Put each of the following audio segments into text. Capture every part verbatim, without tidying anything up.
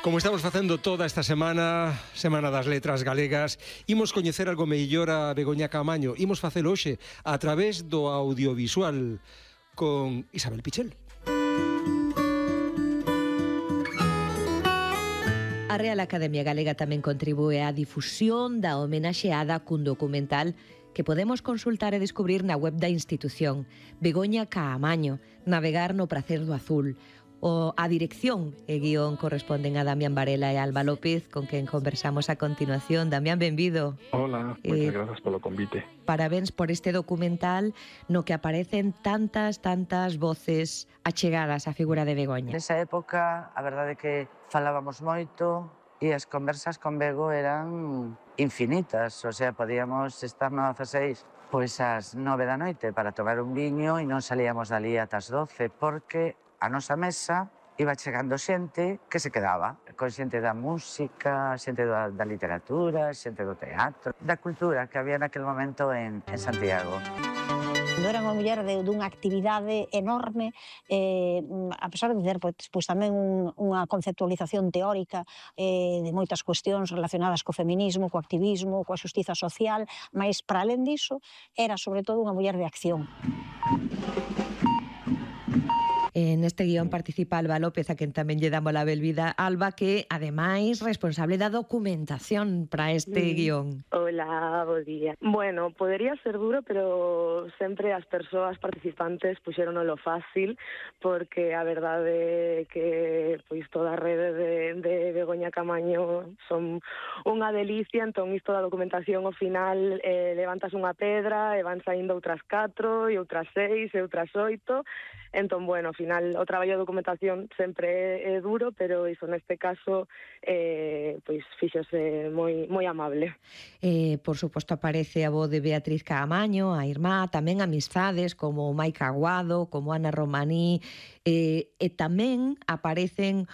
Como estamos facendo toda esta semana, Semana das Letras Galegas, imos coñecer algo mellor a Begoña Caamaño. Imos facelo hoxe a través do audiovisual con Isabel Pichel. A Real Academia Galega tamén contribúe á difusión da homenaxeada cun documental que podemos consultar e descubrir na web da institución. Begoña Caamaño, Navegar no pracer do azul. O a dirección e guión corresponden a Damián Varela e Alba López, con quen conversamos a continuación. Damián, benvido. Hola, moitas eh, grazas polo convite. Parabéns por este documental no que aparecen tantas, tantas voces achegadas á figura de Begoña. Nesa época, a verdade é que falábamos moito e as conversas con Bego eran infinitas. O sea, podíamos estar no dezaseis pois ás nove da noite para tomar un viño e non salíamos dali ata as doce, porque a nosa mesa iba chegando xente que se quedaba, con xente da música, xente da, da literatura, xente do teatro, da cultura que había naquele momento en, en Santiago. Era unha muller de, dunha actividade enorme, eh, a pesar de ter pois, pois, tamén un, unha conceptualización teórica eh, de moitas cuestións relacionadas co feminismo, co activismo, coa xustiza social, mas, para alén diso, era, sobre todo, unha muller de acción. En este guión participa Alba López, a quen tamén lle damos a benvida. Alba, que, ademais, responsable da documentación para este mm. guión. Hola, bo día. Bueno, podería ser duro, pero sempre as persoas participantes puxeron lo fácil, porque a verdade é que pois toda a rede de, de Begoña Caamaño son unha delicia, entón isto da documentación ao final eh, levantas unha pedra e van saindo outras catro, e outras seis, e outras oito. Entón, bueno, ao final o traballo de documentación sempre é, é duro, pero iso neste caso eh, pois fíxose moi moi amable. Eh, por suposto aparece a voz de Beatriz Caamaño, a irmá, tamén amizades como Maica Aguado, como Ana Romaní, eh, e tamén aparecen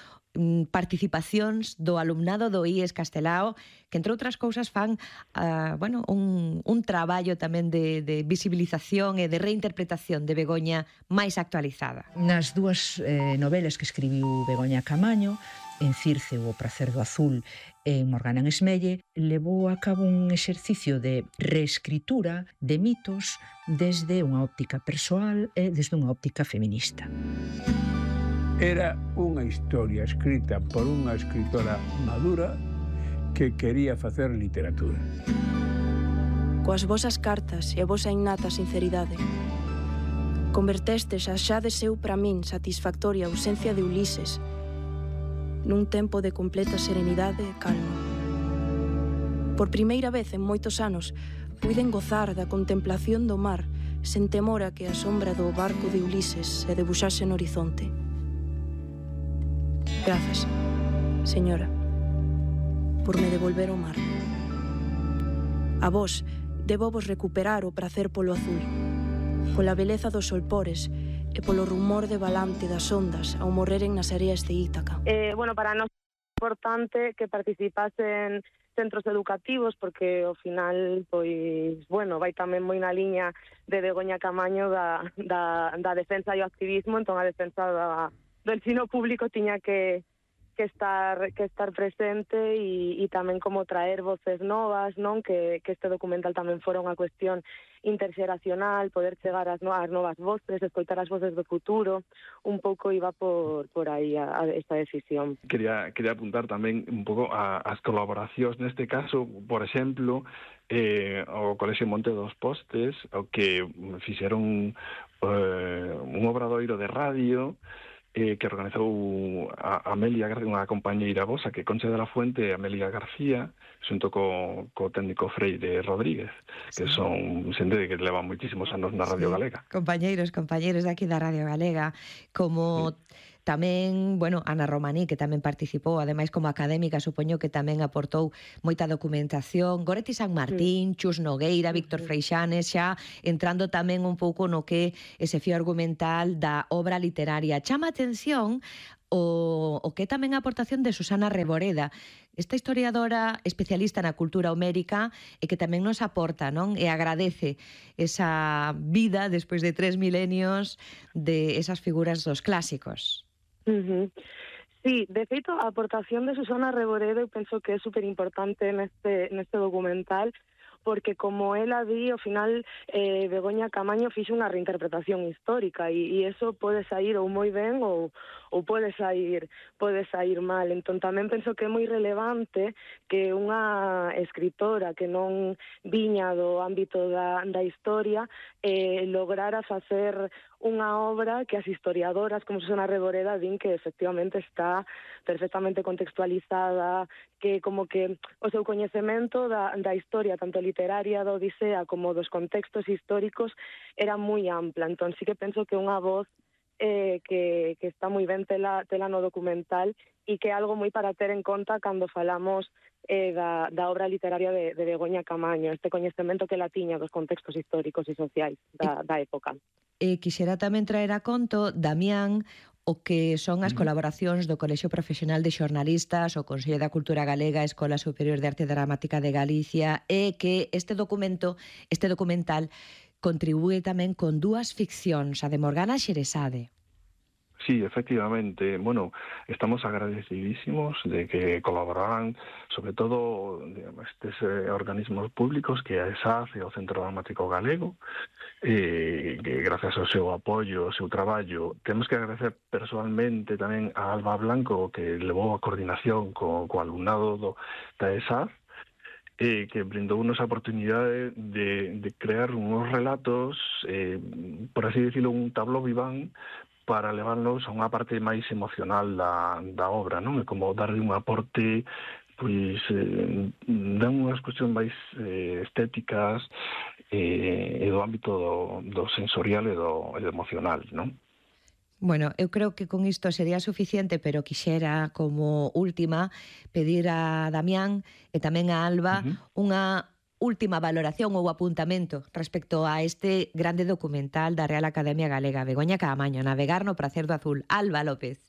participacións do alumnado do I E S Castelao, que entre outras cousas fan uh, bueno, un, un traballo tamén de, de visibilización e de reinterpretación de Begoña máis actualizada. Nas dúas eh, novelas que escribiu Begoña Caamaño, en Circe o pracer do azul e en Morgana en Esmelle, levou a cabo un exercicio de reescritura de mitos desde unha óptica persoal e desde unha óptica feminista. Era unha historia escrita por unha escritora madura que quería facer literatura. Coas vosas cartas e a vosa innata sinceridade, convertestes a xa de seu para min satisfactoria ausencia de Ulises nun tempo de completa serenidade e calma. Por primeira vez en moitos anos puiden gozar da contemplación do mar sen temor a que a sombra do barco de Ulises se debuxase no horizonte. Grazas, señora, por me devolver o mar. A vos, debo vos recuperar o pracer polo azul, pola beleza dos solpores e polo rumor de balante das ondas ao morreren nas areas de Ítaca. Eh, bueno, para nós é importante que participasen centros educativos, porque ao final, pois, bueno, vai tamén moi na liña de Begoña Caamaño da, da, da defensa e o activismo, entón a defensa da do ensino público tiña que, que, estar, que estar presente e, e tamén como traer voces novas, non? Que, que este documental tamén fora unha cuestión interxeracional, poder chegar ás, no, ás novas voces, escoitar as voces do futuro, un pouco iba por, por aí a, a esta decisión. Quería, quería apuntar tamén un pouco a, as colaboracións, neste caso, por exemplo, eh, o Colexio Monte dos Postes, o que fixeron eh, un obradoiro de radio eh, que organizou a Amelia García, unha compañeira vosa, que Concha de la Fuente e Amelia García, xunto co, co técnico Freire Rodríguez, que sí. Son xente que levan moitísimos anos na Radio sí. Galega. Compañeiros, compañeiros de aquí da Radio Galega, como... Sí. Tamén, bueno, Ana Romaní, que tamén participou, ademais como académica, supoño que tamén aportou moita documentación, Goretti San Martín, Chus Nogueira, Víctor Freixanes, xa entrando tamén un pouco no que ese fío argumental da obra literaria. Chama atención o, o que tamén a aportación de Susana Reboreda, esta historiadora especialista na cultura homérica e que tamén nos aporta, non? E agradece esa vida despois de tres milenios de esas figuras dos clásicos. Uh-huh. Sí, de feito, a aportación de Susana Reboredo eu penso que é super importante neste, neste documental, porque como ela di, ao final eh, Begoña Camaño fixo unha reinterpretación histórica e, e eso pode sair ou moi ben ou, ou pode sair pode sair mal. Entón tamén penso que é moi relevante que unha escritora que non viña do ámbito da, da historia eh, lograra facer unha obra que as historiadoras como Susana Reboreda din que efectivamente está perfectamente contextualizada, que como que o seu coñecemento da, da historia, tanto literaria da Odisea como dos contextos históricos, era moi ampla. Entón sí que penso que unha voz eh, que, que está moi ben tela, tela no documental e que é algo moi para ter en conta cando falamos eh, da, da obra literaria de, de Begoña Camaño, este coñecemento que la tiña dos contextos históricos e sociais da, da época. E quixera tamén traer a conto, Damián, o que son as colaboracións do Colexio Profesional de Xornalistas, o Consello da Cultura Galega, a Escola Superior de Arte Dramática de Galicia, e que este documento, este documental contribúe tamén con dúas ficcións, a de Morgana Xeresade. Sí, efectivamente. Bueno, estamos agradecidísimos de que colaboraran, sobre todo, digamos, estes eh, organismos públicos que a ESAF e o Centro Dramático Galego, eh, que gracias ao seu apoio, ao seu traballo, temos que agradecer personalmente tamén a Alba Blanco, que levou a coordinación co, co alumnado do, da ESAF, eh, que brindou unos a oportunidade de, de crear unos relatos, eh, por así decirlo, un tablo viván, para levarnos a unha parte máis emocional da, da obra, non? É como darle un aporte, pois, eh, dan unhas cuestións máis eh, estéticas eh, e do ámbito do, do sensorial e do, e do emocional, non? Bueno, eu creo que con isto sería suficiente, pero quixera, como última, pedir a Damián e tamén a Alba uh-huh. unha última valoración ou apuntamento respecto a este grande documental da Real Academia Galega, Begoña Caamaño, Navegar no pracer do azul. Alba López.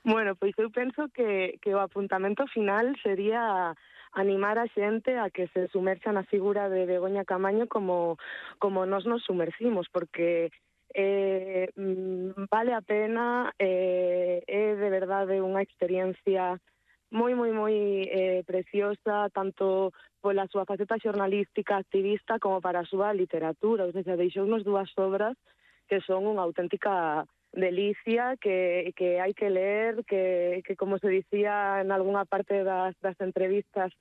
Bueno, pois eu penso que, que o apuntamento final sería animar a xente a que se sumerxa na figura de Begoña Caamaño como, como nos nos sumercimos, porque eh, vale a pena, eh, é de verdade unha experiencia moi, moi, moi eh, preciosa, tanto pola súa faceta xornalística, activista, como para a súa literatura. Ou seja, deixounos dúas obras que son unha auténtica delicia, que, que hai que ler, que, que como se dicía en algunha parte das, das entrevistas,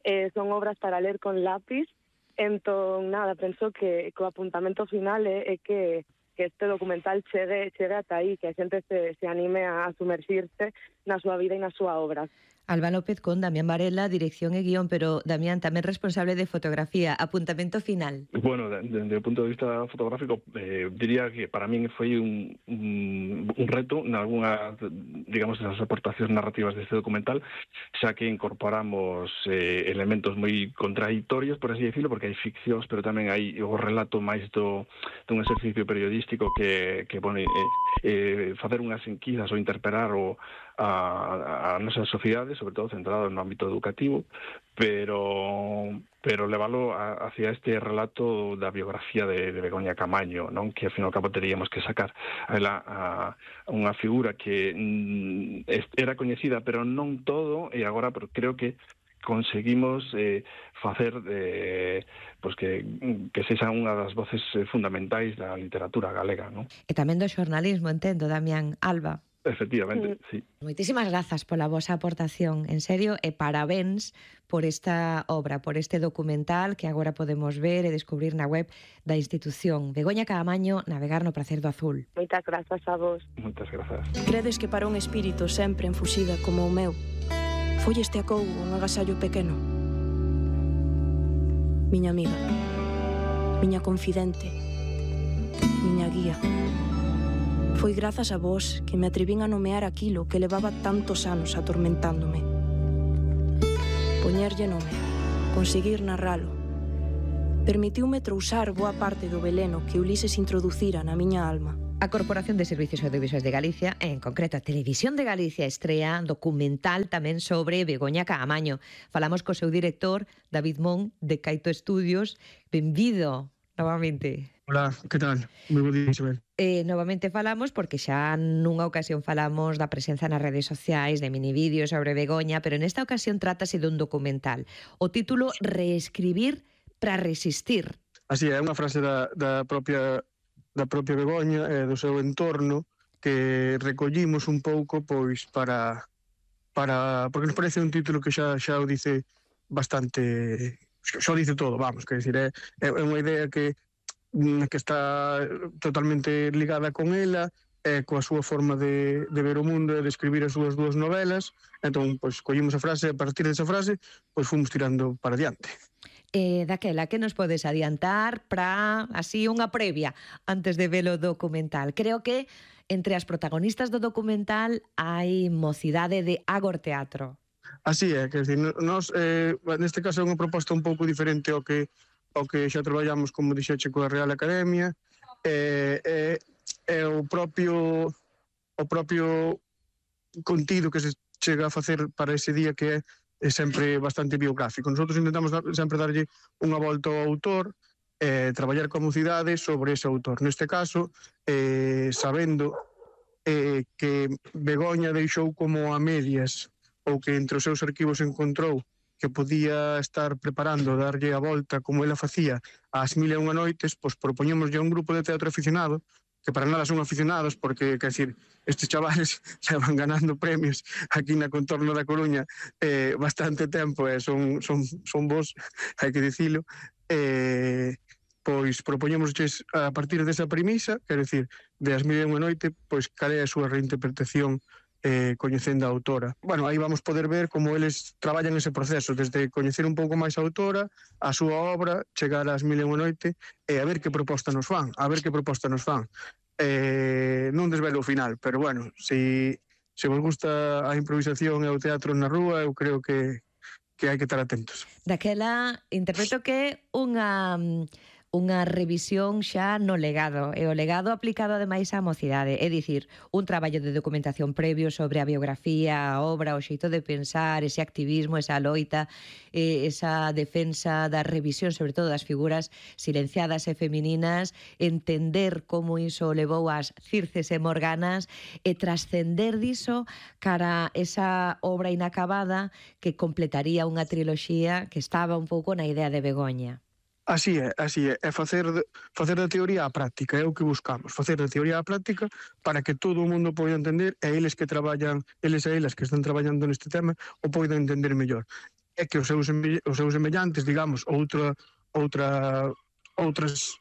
eh, son obras para ler con lápiz. Entón, nada, penso que, que o apuntamento final é, é que que este documental chegue, chegue ata aí, que a xente se, se anime a sumerxirse na súa vida e na súa obra. Alba López con Damián Varela, dirección e guión, pero Damián tamén responsable de fotografía. Apuntamento final. Bueno, desde o punto de vista fotográfico, eh, diría que para min foi un, un, un reto en algunha, digamos, das aportacións narrativas deste documental, xa que incorporamos eh, elementos moi contradictorios, por así decirlo, porque hai ficcións, pero tamén hai o relato máis do, dun exercicio periodístico que, que bueno, eh, eh, facer unhas enquisas ou interpelar o a, a nosa sociedade, sobre todo centrado no ámbito educativo, pero pero levalo a, hacia este relato da biografía de, de Begoña Caamaño, non? Que, ao fin e ao cabo, teríamos que sacar a, ela, a unha figura que mm, era coñecida, pero non todo, e agora pero creo que conseguimos eh, facer eh, pues que, que sexa unha das voces fundamentais da literatura galega, non? E tamén do xornalismo, entendo, Damián. Alba. Efectivamente, sí. Moitísimas grazas pola vosa aportación, en serio, e parabéns por esta obra, por este documental que agora podemos ver e descubrir na web da institución. Begoña Caamaño, Navegar no pracer do azul. Moitas grazas a vos. Moitas grazas. Credes que para un espírito sempre enfuxida como o meu, foi este acougo un agasallo pequeno? Miña amiga, miña confidente, miña guía. Foi grazas a vos que me atrevín a nomear aquilo que levaba tantos anos atormentándome. Poñerlle nome, conseguir narralo, permitiume trousar boa parte do veleno que Ulises introducira na miña alma. A Corporación de Servicios Audiovisuais de Galicia, en concreto a Televisión de Galicia, estrea documental tamén sobre Begoña Caamaño. Falamos co seu director, David Mon, de Caito Estudios. Benvido, novamente. Hola, que tal? Moi bo día, Isabel. Eh, novamente falamos porque xa nunha ocasión falamos da presenza nas redes sociais de minivídeos sobre Begoña, pero nesta ocasión trátase dun documental. O título Reescribir para resistir. Así é, unha frase da, da propia da propia Begoña e do seu entorno que recollimos un pouco pois para para porque nos parece un título que xa xa o dice bastante, xa o dice todo, vamos, quer decir, é, é unha idea que que está totalmente ligada con ela, e coa súa forma de, de ver o mundo e de escribir as súas dúas novelas. Entón, pois, collimos a frase, e a partir desa frase, pois fomos tirando para diante. Eh, daquela, que nos podes adiantar para, así, unha previa antes de ver o documental? Creo que entre as protagonistas do documental hai mocidade de Agor Teatro. Así é, quer dizer, nós, eh, neste caso é unha proposta un pouco diferente ao que ao que xa traballamos, como dixeche, coa Real Academia, e, e, e o propio o propio contido que se chega a facer para ese día, que é, é sempre bastante biográfico. Nosotros intentamos dar, sempre darlle unha volta ao autor, e traballar coa mocidade sobre ese autor. Neste caso, eh, sabendo eh, que Begoña deixou como a medias, ou que entre os seus arquivos encontrou que podía estar preparando darlle a volta como ela facía ás Mil e unha noites, pois propoñémoslle a un grupo de teatro aficionado, que para nada son aficionados, porque, quer decir, estes chavales xa van ganando premios aquí na contorno da Coruña eh, bastante tempo, e son, son, son vos, hai que dicilo, eh, pois propoñémosles a partir desa premisa, quer decir, de As Mil e unha noite, pois cal é a súa reinterpretación eh, coñecendo a autora. Bueno, aí vamos poder ver como eles traballan ese proceso, desde coñecer un pouco máis a autora, a súa obra, chegar ás Mil e unha noite, e a ver que proposta nos fan, a ver que proposta nos fan. Eh, non desvelo o final, pero bueno, se, se vos gusta a improvisación e o teatro na rúa, eu creo que, que hai que estar atentos. Daquela, interpreto que unha... unha revisión xa no legado, e o legado aplicado ademais á mocidade, é dicir, un traballo de documentación previo sobre a biografía, a obra, o xeito de pensar, ese activismo, esa loita, esa defensa da revisión, sobre todo das figuras silenciadas e femininas, entender como iso levou ás Circes e Morganas e trascender diso cara esa obra inacabada que completaría unha triloxía que estaba un pouco na idea de Begoña. Así é, así é, é facer, facer da teoría á práctica, é o que buscamos, facer da teoría á práctica para que todo o mundo poida entender, e eles que traballan, eles e elas que están traballando neste tema, o poidan entender mellor. É que os seus, os seus semellantes, digamos, outra, outra, outras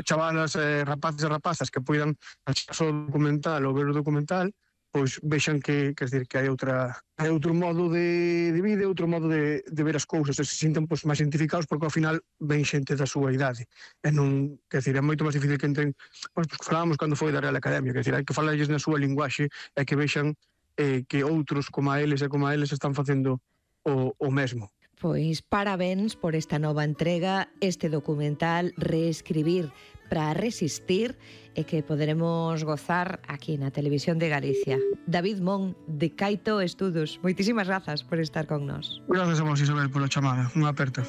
chavalas, eh, rapaces e rapazas que poidan achar só o documental ou ver o documental, pois vexan que, quer dizer, que hai outra hai outro modo de, de vida, outro modo de, de ver as cousas, e se sintan pois, máis identificados, porque ao final ven xente da súa idade, e non, quer dizer, é moito máis difícil que entren, pois, pois falábamos cando foi da Real Academia, quer dizer, hai que falarlles na súa linguaxe, e que vexan eh, que outros como a eles e como a eles están facendo o, o mesmo. Pois parabéns por esta nova entrega, este documental Reescribir para resistir, e que poderemos gozar aquí na Televisión de Galicia. David Mon, de Caito Estudos, moitísimas grazas por estar con nós. Grazas a vos, Isabel, pola chamada. Unha aperta.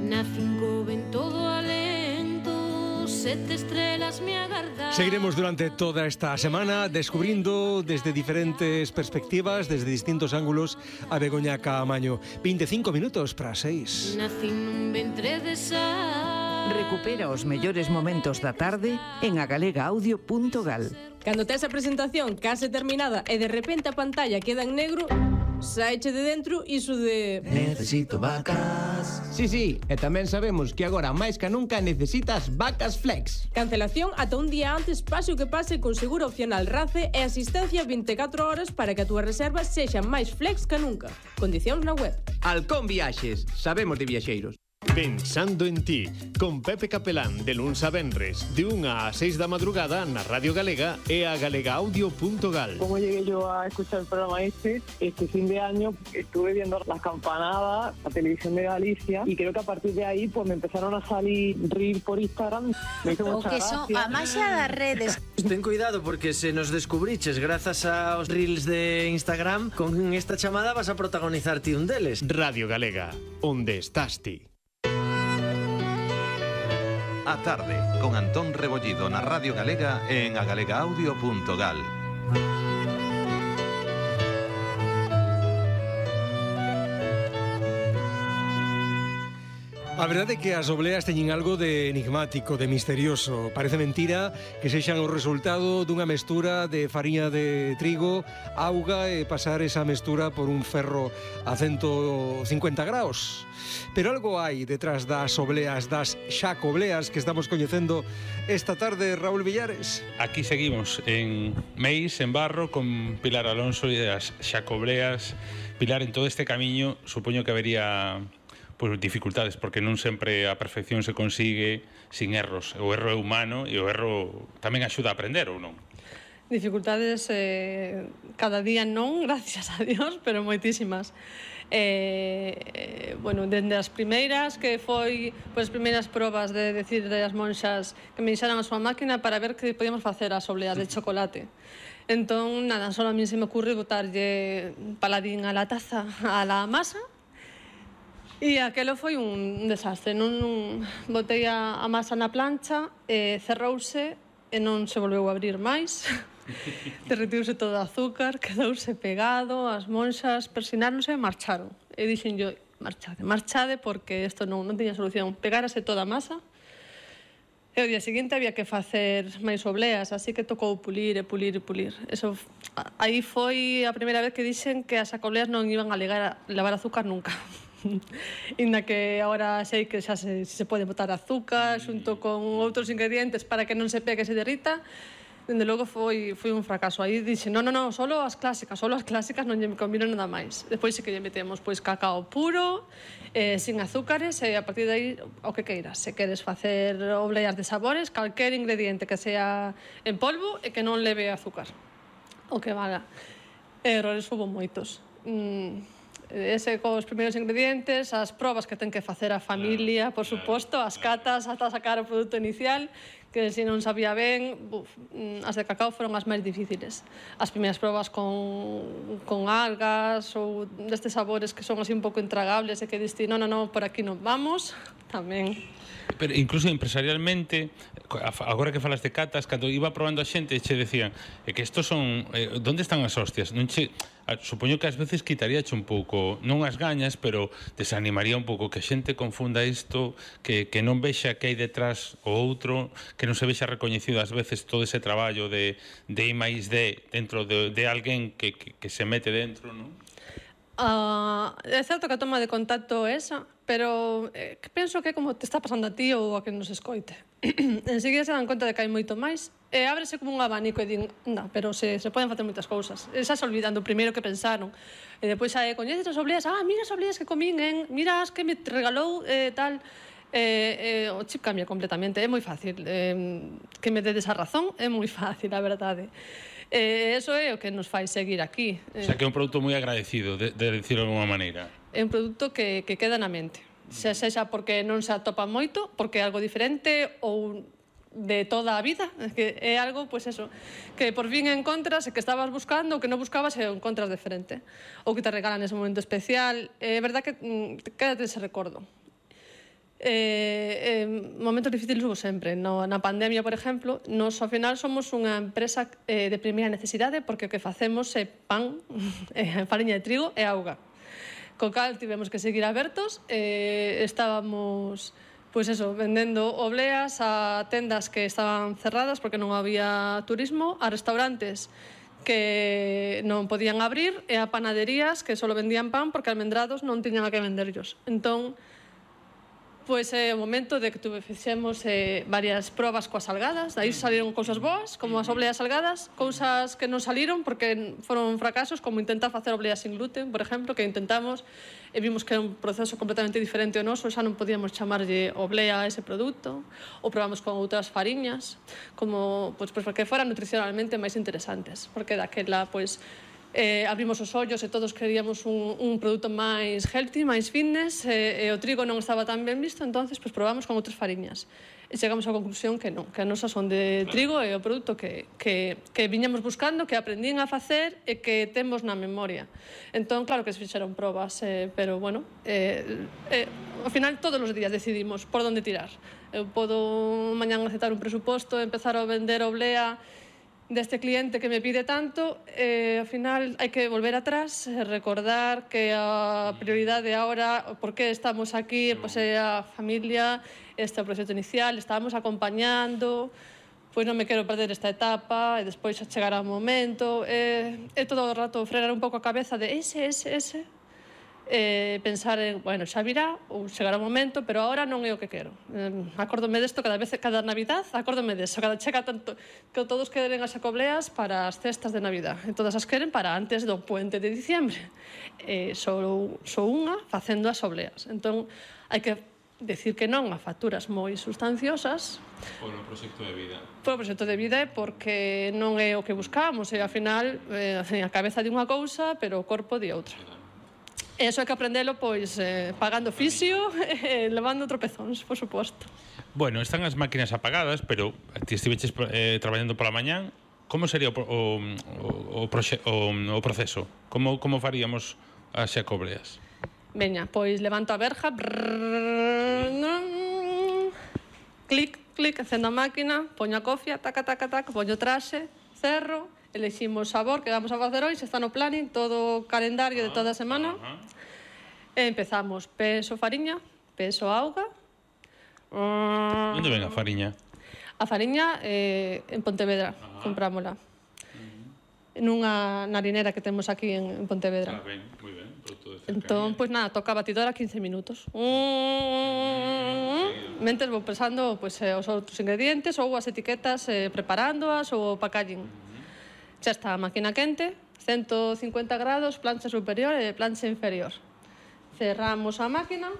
Nacen coben todo alento, sete estrelas me agardan. Seguiremos durante toda esta semana descubrindo desde diferentes perspectivas, desde distintos ángulos, a Begoña Caamaño. veinticinco minutos para seis. Nacen nun ventre de sal. Recupera os mellores momentos da tarde en agalegaaudio punto gal. Cando tes a presentación case terminada e de repente a pantalla queda en negro, saeche de dentro iso de... Necesito vacas. Sí, sí, e tamén sabemos que agora máis que nunca necesitas vacas flex. Cancelación ata un día antes, pase o que pase, con seguro opcional RACE e asistencia vinte e catro horas para que a túa reserva sexa máis flex que nunca. Condicións na web. Halcón Viaxes, sabemos de viaxeiros. Pensando en ti, con Pepe Capelán, de luns a venres, de unha a seis da madrugada na Radio Galega e a galegaaudio punto gal. Como llegué yo a escuchar el programa este, este fin de año estuve viendo las campanadas, la televisión de Galicia, y creo que a partir de ahí pues me empezaron a salir reels por Instagram. Me hizo mucha gracia. O que son a máxia das redes. Ten cuidado porque se nos descubriches grazas aos reels de Instagram, con esta chamada vas a protagonizar ti un deles. Radio Galega, onde estás ti. A tarde, con Antón Rebollido na Radio Galega e en agalega audio punto gal. A verdade é que as obleas teñen algo de enigmático, de misterioso. Parece mentira que sexan o resultado dunha mestura de fariña de trigo, auga e pasar esa mestura por un ferro a ciento cincuenta graus. Pero algo hai detrás das obleas, das xacobleas que estamos coñecendo esta tarde, Raúl Villares. Aquí seguimos en Meis, en Barro, con Pilar Alonso e as xacobleas. Pilar, en todo este camiño, supoño que habería pues, dificultades, porque non sempre a perfección se consigue sin erros. O erro é humano e o erro tamén axuda a aprender, ou non? Dificultades eh, cada día non, gracias a Dios, pero moitísimas. Eh, eh, bueno, dende as primeiras, que foi pois, as primeiras probas de decir das monxas que me deixaran a súa máquina para ver que podíamos facer as obleas de chocolate. Entón, nada, só a mí se me ocurre botarlle paladín a la taza, a la masa. E aquelo foi un desastre. Non, non botei a, a masa na plancha, e cerrouse e non se volveu a abrir máis. Derretiuse todo o azúcar, quedouse pegado, as monxas persináronse e marcharon. E dixen yo, marchade, marchade, porque isto non, non tiña solución. Pegárase toda a masa, e o día seguinte había que facer máis obleas, así que tocou pulir e pulir e pulir. Eso, aí foi a primeira vez que dixen que as xacobleas non iban a levar, levar azúcar nunca. Inda que agora sei que xa se, se pode botar azúcar xunto con outros ingredientes para que non se pegue e se derrita. Dende logo foi, foi un fracaso. Aí dixe, non, non, non, solo as clásicas, solo as clásicas, non lle combino nada máis. Despois sí que lle metemos pois cacao puro, eh, sin azúcares, e a partir de aí o que queiras. Se queres facer obleas de sabores, calquer ingrediente que sea en polvo e que non leve azúcar, o que valga. Errores hubo moitos. Mm, ese cos primeiros ingredientes, as probas que ten que facer a familia, por suposto, as catas ata sacar o produto inicial, que se non sabía ben, buf, as de cacao foron as máis difíciles. As primeiras probas con, con algas ou destes sabores que son así un pouco intragables e que diste, non, non, non, por aquí non vamos, tamén. Pero incluso empresarialmente, agora que falas de catas, cando iba probando a xente, che decían é que estos son, eh, onde están as hostias? Non che, a, supoño que ás veces quitaríache un pouco, non as gañas, pero desanimaría un pouco que a xente confunda isto, que, que non vexa que hai detrás o outro, que non se vexa recoñecido ás veces todo ese traballo de, de I máis D dentro de, de alguén que, que, que se mete dentro, non? Uh, é certo que a toma de contacto é esa, pero eh, penso que é como te está pasando a ti ou a que nos escoite. Enseguida se dan conta de que hai moito máis e ábrese como un abanico e din, non, pero se, se poden facer moitas cousas. E xa se olvidando o primeiro que pensaron. E depois xa coñeces as obleas, ah, mira as obleas que comín, en, mira as que me regalou eh, tal. Eh, eh, o chip cambia completamente, é moi fácil. Eh, que me dedes a razón é moi fácil, a verdade. Eh, eso é o que nos fai seguir aquí. O sea, que é un produto moi agradecido, de, de decirlo de alguma maneira. É un produto que, que queda na mente. Se sexa porque non se atopa moito, porque é algo diferente ou de toda a vida, que é algo, pois eso, que por fin encontras e que estabas buscando, o que non buscabas e o encontras diferente. Ou que te regalan ese momento especial. É verdad que mm, quédate ese recordo. Eh, eh, momentos difíciles hubo sempre. No, na pandemia, por exemplo, nos ao final somos unha empresa eh, de primeira necesidade porque o que facemos é pan, eh, fariña de trigo e auga. Co cal tivemos que seguir abertos, eh, estábamos pois eso, vendendo obleas a tendas que estaban cerradas porque non había turismo, a restaurantes que non podían abrir e a panaderías que só vendían pan porque almendrados non tiñan a que venderlos. Entón, pois é o momento de que tuve, fixemos eh, varias probas coas salgadas, dai salieron cousas boas, como as obleas salgadas, cousas que non saliron porque foron fracasos, como intentar facer obleas sin gluten, por exemplo, que intentamos e vimos que era un proceso completamente diferente ao noso, xa non podíamos chamarlle oblea a ese produto, ou probamos con outras fariñas, como, pois, pois, porque foran nutricionalmente máis interesantes, porque daquela, pois, Eh, abrimos os ollos e todos queríamos un, un produto máis healthy, máis fitness, e, e o trigo non estaba tan ben visto, entonces pues, probamos con outras fariñas. E chegamos á conclusión que non, que a nosa son de trigo e o produto que, que, que viñamos buscando, que aprendín a facer e que temos na memoria. Entón, claro que se fixeron probas, eh, pero, bueno, eh, eh, ao final todos os días decidimos por onde tirar. Eu podo mañán aceptar un presuposto, empezar a vender oblea deste cliente que me pide tanto, e ao final hai que volver atrás e recordar que a prioridade agora, por que estamos aquí, pois é a familia, este é o proxecto inicial, estábamos acompañando, pois non me quero perder esta etapa e despois chegará o momento, e, e todo o rato frenar un pouco a cabeza de ese, ese, ese, e pensar en, bueno, xa virá ou chegará o momento, pero agora non é o que quero. Eh, acórdome desto cada vez, cada Navidad, acórdome deso, cada chega tanto que todos queren as xacobleas para as cestas de Navidad, e todas as queren para antes do puente de diciembre. E só, só unha facendo as obleas. Entón, hai que decir que non a facturas moi sustanciosas por o proxecto de vida. Por o proxecto de vida, porque non é o que buscamos, e ao final eh, a cabeza de unha cousa, pero o corpo de outra. E iso hai que aprendelo, pois, eh, pagando fisio e levando tropezóns, por suposto. Bueno, están as máquinas apagadas, pero ti estiveches eh, traballando pola mañán. Como sería o, o, o, proxe, o, o proceso? Como, como faríamos as xacobleas? Veña, pois levanto a verja, brrr, clic, clic, acendo a máquina, poño a cofia, taca, taca, taca, poño traxe, cerro, eleximos sabor que vamos a facer hoxe, está no planning, todo o calendario de toda a semana. E empezamos peso fariña, peso auga. Onde ven a fariña? A fariña eh, en Pontevedra, comprámola. Nunha narinera que temos aquí en Pontevedra. Ah, ben, moi ben, produto de cercanía. Entón, pois nada, toca a batidora quince minutos. Mentes vou pesando pois, os outros ingredientes ou as etiquetas eh, preparándoas ou o packaging. Xa está a máquina quente, ciento cincuenta grados, plancha superior e plancha inferior. Cerramos a máquina.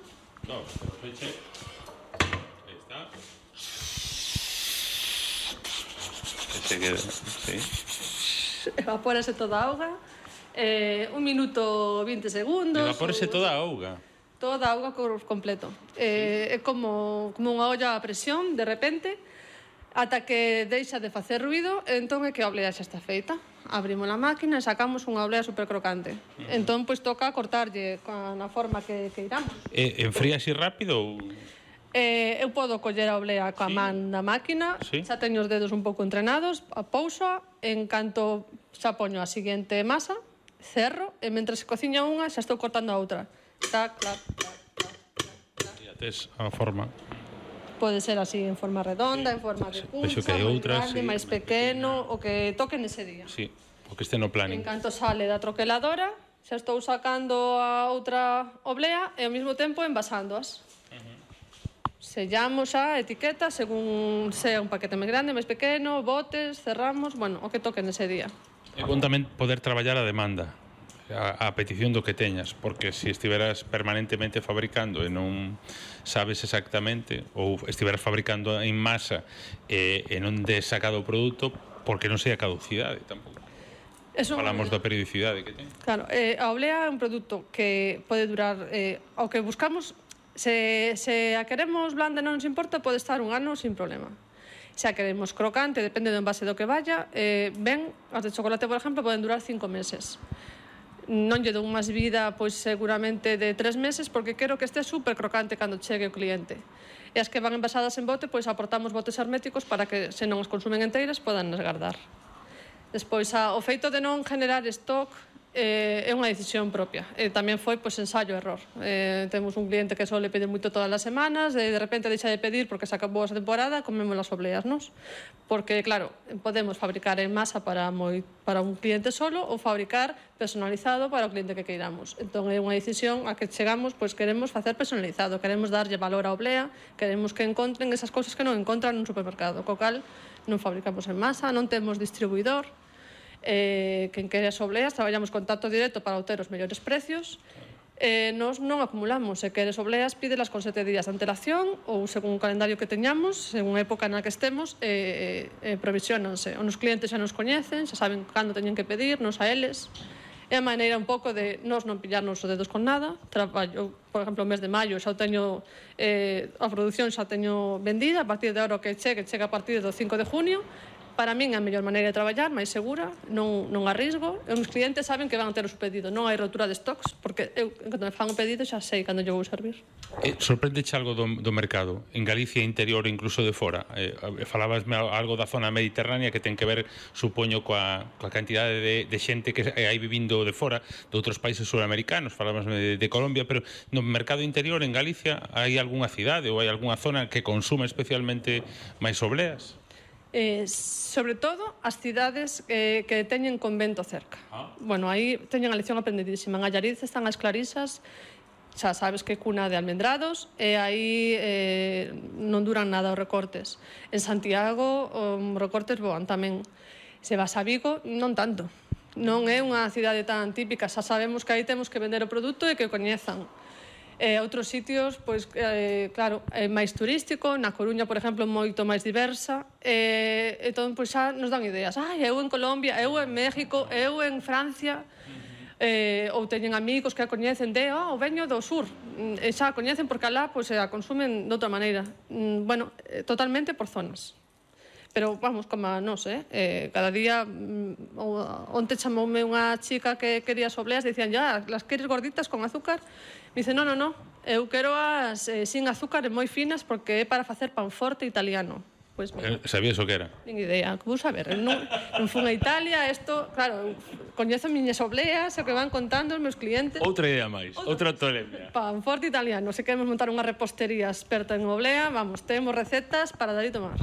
No, pero feche. Aí está. Se queda, sí. Evapórase toda a auga. Eh, un minuto vinte segundos. Evapórase toda a auga. Toda a auga completo. Eh, é como, como unha olla a presión, de repente, ata que deixa de facer ruido, entón é que a oblea xa está feita. Abrimos a máquina e sacamos unha oblea super crocante. Entón, pois, toca cortarlle na forma que, que iramos. E enfría así rápido ou...? Eh, eu podo coller a oblea coa man na máquina, sí. Xa teño os dedos un pouco entrenados, a pousa, en canto xa poño a seguinte masa, cerro, e mentre se cociña unha, xa estou cortando a outra. Tac, clac, clac, clac, clac. E tes a forma... Pode ser así, en forma redonda, en forma de puncha, máis grande, máis pequeno, o que toque nese día. Sí, o que este no planning. En canto sale da troqueladora, xa estou sacando a outra oblea e ao mesmo tempo envasándoas. Sellamos a etiqueta según sea un paquete máis grande, máis pequeno, botes, cerramos, bueno, o que toque nese día. É bom tamén poder traballar a demanda, a, a petición do que teñas, porque se estiveras permanentemente fabricando e non sabes exactamente, ou estiveras fabricando en masa e, e non des sacado o produto, porque non sei a caducidade tampouco. Eso, falamos da periodicidade que ten. Claro, eh, a oblea é un produto que pode durar, eh, ao que buscamos, se, se a queremos blanda non nos importa, pode estar un ano sin problema. Se a queremos crocante, depende do envase do que vaya, eh, ben, as de chocolate, por exemplo, poden durar cinco meses. Non lle dou máis vida, pois seguramente de tres meses, porque quero que este super crocante cando chegue o cliente. E as que van envasadas en bote, pois aportamos botes herméticos para que, se non os consumen enteiras, podan esgardar. Despois, a, o feito de non generar stock eh, é unha decisión propia. E tamén foi, pois, ensayo-error. Eh, temos un cliente que sole pedir moito todas as semanas, e de repente deixa de pedir porque se acabou esa temporada, comemos as obleas, nos? Porque, claro, podemos fabricar en masa para, moi, para un cliente solo ou fabricar personalizado para o cliente que queiramos. Entón, é unha decisión a que chegamos, pois, queremos facer personalizado, queremos darlle valor á oblea, queremos que encontren esas cousas que non encontran nun supermercado, co cal non fabricamos en masa, non temos distribuidor. Eh, quen quere as obleas, traballamos contacto directo para obter os mellores precios. Eh, nos non acumulamos, se queres obleas, pídelas con sete días de antelación ou según o calendario que teñamos, según a época na que estemos, eh, eh, provisionanse. Os clientes xa nos coñecen, xa saben cando teñen que pedir, nos a eles. É a maneira un pouco de nos non pillarnos os dedos con nada. Traballo, por exemplo, o mes de maio xa teño eh, a produción xa teño vendida, a partir de ahora que chegue, chega a partir do cinco de junio, Para min é a mellor maneira de traballar, máis segura, non, non arrisgo. E os clientes saben que van a ter o seu pedido. Non hai rotura de stocks, porque eu, cando me fan o pedido, xa sei cando eu vou servir. Eh, sorprendeche algo do, do mercado? En Galicia interior, incluso de fora? Eh, falabasme algo da zona mediterránea que ten que ver, supoño, coa, coa cantidade de, de xente que hai vivindo de fora, de outros países suramericanos. Falabasme de, de Colombia, pero no mercado interior, en Galicia, hai algunha cidade ou hai algunha zona que consume especialmente máis obleas? Eh, sobre todo as cidades eh, que teñen convento cerca. Ah. Bueno, aí teñen a lección aprendidísima. En Allariz están as Clarisas, xa sabes que é cuna de almendrados, e aí eh, non duran nada os recortes. En Santiago os recortes voan tamén. Se vas a Vigo, non tanto. Non é unha cidade tan típica, xa sabemos que aí temos que vender o produto e que o coñezan. E outros sitios, pois, eh, claro, é máis turístico. Na Coruña, por exemplo, moito máis diversa. E, entón, pois, xa nos dan ideas. Ai, eu en Colombia, eu en México, eu en Francia. Eh, ou teñen amigos que a coñecen de, oh, veño do sur. E xa a coñecen porque alá, pois, a consumen de outra maneira. Mm, bueno, eh, totalmente por zonas. Pero, vamos, como a nos, eh? eh cada día, mm, onte chamoume unha chica que quería sobleas, dicían, ya, las queres gorditas con azúcar? Me dice, no, no, no, eu quero as eh, sin azúcar e moi finas porque é para facer pan forte italiano. Pois, pues, sabías o que era? Nin idea, que vou saber. Non, non fun a Italia, isto, claro, coñezo miñas obleas, o que van contando os meus clientes. Outra idea máis, outra tolemia. Pan forte italiano, se queremos montar unha repostería experta en oblea, vamos, temos recetas para dar e tomar.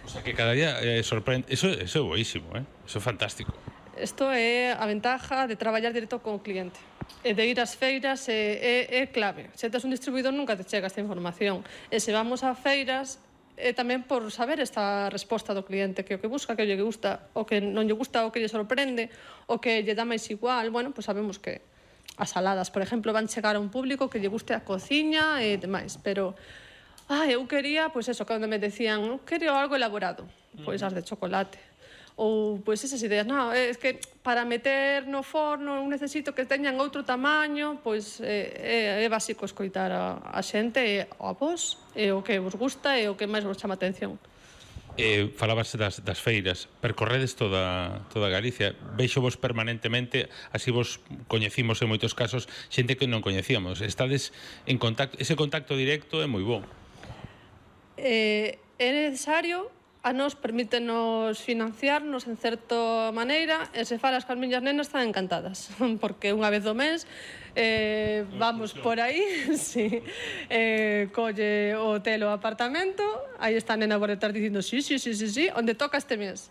O sea que cada día eh, sorprende, eso, eso é boísimo, eh? Eso é fantástico. Isto é a ventaja de traballar directo con o cliente. E de ir ás feiras é, é, é clave. Se tes un distribuidor nunca te chega esta información. E se vamos a feiras é tamén por saber esta resposta do cliente, que o que busca, que o lle gusta, o que non lle gusta, o que lle sorprende, o que lle dá máis igual. Bueno, pois sabemos que as saladas, por exemplo, van chegar a un público que lle guste a cociña e demais, pero ah, eu quería, pois eso, cando me decían, eu quería algo elaborado, pois as de chocolate. Ou, pois, esas ideas, non, é que para meter no forno eu necesito que teñan outro tamaño, pois é, é básico escoitar a, a xente e a vos, e o que vos gusta e o que máis vos chama atención. Eh, falabas das, das feiras, percorredes toda, toda Galicia, veixo vos permanentemente, así vos coñecimos en moitos casos xente que non coñecíamos, estades en contacto, ese contacto directo é moi bo. Eh, é necesario, a nos permítenos financiarnos en certa maneira, e se falas con as miñas nenas están encantadas, porque unha vez do mes eh, vamos por aí, sí, eh, colle o hotel o apartamento, aí está a nena por detrás dicindo sí, sí, sí, sí, sí, onde toca este mes.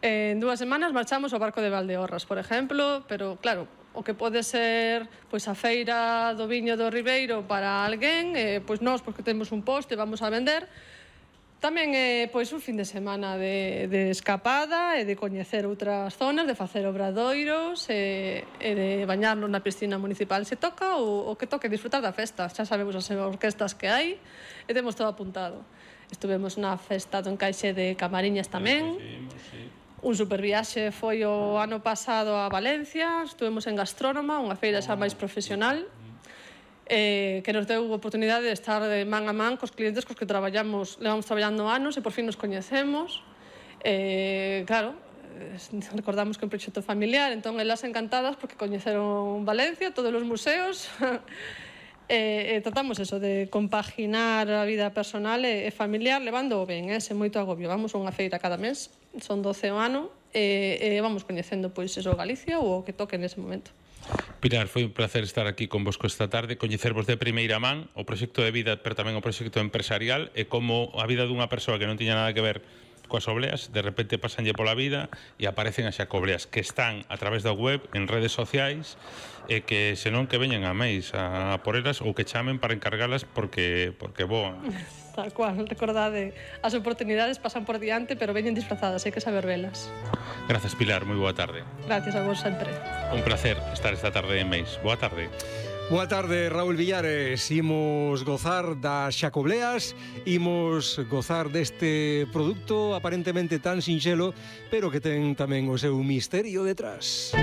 Eh, en dúas semanas marchamos ao barco de Valdeorras, por exemplo, pero claro, o que pode ser pois a feira do viño do Ribeiro para alguén, eh, pois nós, porque temos un posto e vamos a vender. Tamén é pois un fin de semana de, de escapada e de coñecer outras zonas, de facer obradoiros e, e de bañarnos na piscina municipal se toca ou o que toque disfrutar da festa. Xa sabemos as orquestas que hai e temos todo apuntado. Estuvemos na festa do encaixe de Camariñas tamén. Un superviaxe foi o ano pasado a Valencia, estuvemos en Gastrónoma, unha feira xa máis profesional, eh, que nos deu a oportunidade de estar de man a man cos clientes cos que traballamos, levamos traballando anos e por fin nos coñecemos. Eh, claro, eh, recordamos que é un proxecto familiar, entón elas encantadas porque coñeceron Valencia, todos os museos. E, e tratamos eso de compaginar a vida personal e, e familiar levando ben, eh, sen moito agobio. Vamos a unha feira cada mes, son doce o ano e, e vamos coñecendo pois eso Galicia ou o que toque nese momento. Pilar, foi un placer estar aquí con vosco esta tarde, coñecervos de primeira man o proxecto de vida, pero tamén o proxecto empresarial e como a vida dunha persoa que non tiña nada que ver coas obleas, de repente pasanlle pola vida e aparecen as xacobleas que están a través da web, en redes sociais e que senón que veñen a máis a por elas ou que chamen para encargalas porque porque voan. Tal cual, recordade, as oportunidades pasan por diante pero veñen disfrazadas, hai que saber velas. Gracias, Pilar, moi boa tarde. Gracias a vos sempre. Un placer estar esta tarde en Meis. Boa tarde. Boa tarde, Raúl Villares. Imos gozar das xacobleas, imos gozar deste produto aparentemente tan sinxelo, pero que ten tamén o seu misterio detrás.